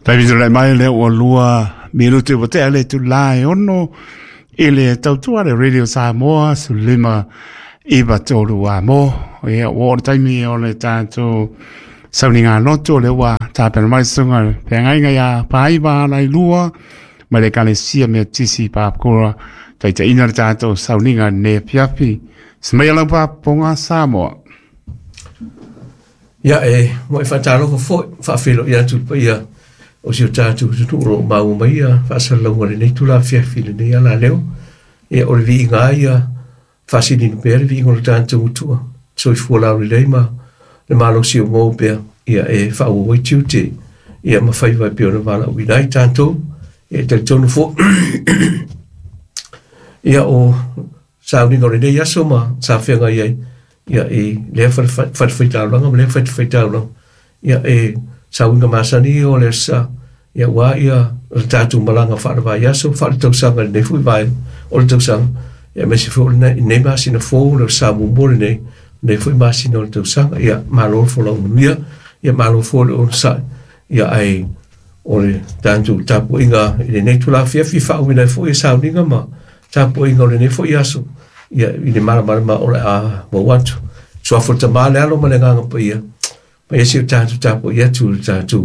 Taimi tulai mai lea ua 2 minute ua tea le itulā e 6 i le tautua le Radio Samoa 1593 amo. Ia, ua oo le taimi o le tatou sauniga loto, lea ua tapena mai susuga le feagaiga ia Paaiva Alailua mai le Ekalesia Metotisi i Papakura, taitaiina le tatou sauniga i lenei afiafi. Semaia lau faafofoga Samoa. Ia e mo e faatalofa foi, faafeiloai atu i le paia o si o tatou atunuu o lo o maua mai ia faasalalauga i lenei itula afiafi i lenei alaleo. Ia o le viiga lava ia faasilina pea le viiga o le tatou Atua, soifua laulelei ma le malosi o maua pea ia e faaauau ai tiute ia ma faiva e pei ona valaauina ai tatou. Ia e talitonu foi ia o sauniga o lenei aso ma sa feagai ai ia i lea fatafaitaulaga ma lea fatafaitaulaga, ia e sauiga masani o le sa ia ua ia le tatou malaga faalevaiaso faaletausaga i lenei foi vaega o le tausaga, ia aemaise foi o lenei masina fou, le sa muamua lenei foi masina o le tausaga. Ia malo le folau manuia, ia malo foi le onosai, ia ae o le tatou tapuaiga i lenei itula afiafi faauiina ai foi e sauniga ma tapuaiga o lenei foi aso ia i le malamalama o le a maua atu. Suafa o le Tama, le Alo ma le Agaga Paia, ma ia si o tatou tapuai atu i le tatou